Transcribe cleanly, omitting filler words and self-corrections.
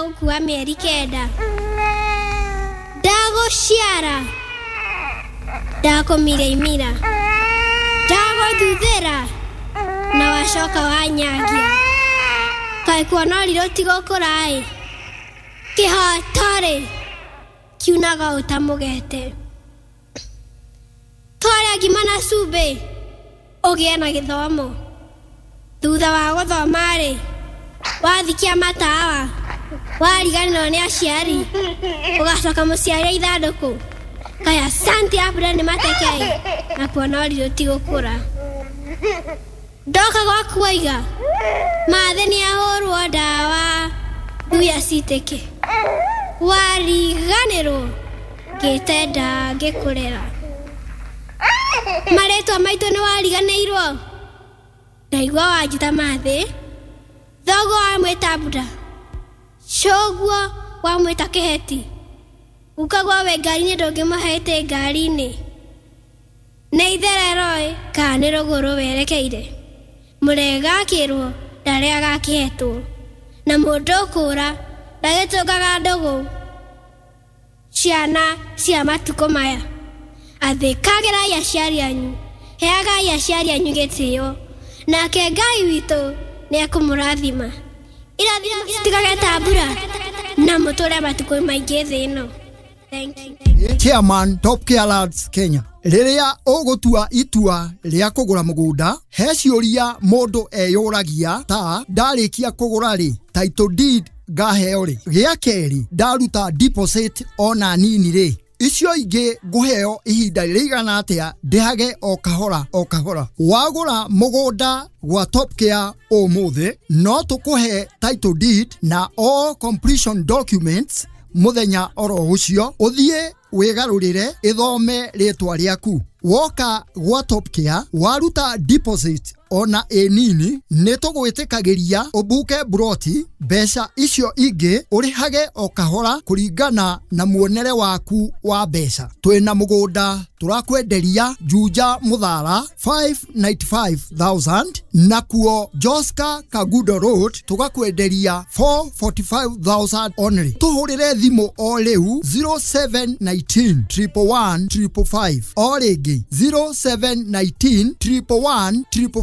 gũkua mĩeri 9. Ndagũciara, ndakũmira imira, ndagũthuthĩra na wacoka wanyagia. Kaĩ kuona ũrirũ ti gũkũra-ĩ, kĩhoto-rĩ kiunaga ũtamũgete. Twarĩa ngima na cumbĩ ũgĩe na gĩthomo. Thutha wa gũthoma-rĩ, wathikia matawa, wariganĩrwo nĩ aciari, ũgacoka mũciari ithandũkũ. Kaya asante abura nĩ mateke na kuona ũrirũ ti gũkũra. Ndoka gwaku waiga mathĩ nĩ ahũrwo ndawa thuya citĩke. Wariganĩrwo ngĩtenda ngĩkũrera. Marĩtwa maitũ nĩ wariganĩirwo. Ndaigua wanjĩta mathĩ, thoguo wamwĩta mbura, cũguo wamwĩta kĩheti, gukaguo wĩ ngari-inĩ ndũngĩmũheete ngari-inĩ. Nĩ itherero-ĩ kana nĩ rũgũrũ werekeire. Mũrega akĩrwo ndarĩaga akĩhetwo, na mũndũ ũkũra ndagĩtũngaga ndũgũ. Ciana cia matukũ maya, athĩkagĩrai aciari anyu, heagai aciari anyu gĩtĩo, nake Ngai witũ nĩ ekũmũrathima. Irathimo citigage ta mbura na mũtũre matukũ maingĩ thĩ ĩno. Thank you. Chairman Top Care Lads Kenya. Rĩrĩa ũgũtua itua rĩa kũgũra mũgũnda, he ciũria mũndũ eyũragia ta ndarĩkia kũgũra rĩ, title deed ngaheo rĩ, gĩa kerĩ ndaruta deposit ona nini rĩ, icio ingĩ ngũheo ihinda rĩigana atĩa ndĩhage o kahora o kahora. Wagũra mũgũnda gwa Top Care ũmũthĩ, no tũkũhe title deed na all completion documents mũthenya oro ũcio, ũthiĩ wĩgarũrĩre ĩthome rĩtwa rĩaku. Woka gwa Top Care waruta deposit ona ĩ nini, nĩ tũgwĩtĩkagĩria ũbuke buroti, mbeca icio ingĩ ũrĩhage o kahora kũringana na muonere waku wa mbeca. Twĩna mũgũnda tũrakwenderia Juja Mũthara 595,000, nakuo Joska Kagudo Road tũgakwenderia 445,000 only. Tũhũrĩre thimũ o rĩu 0719 111 555, o rĩngĩ 0719 111 555.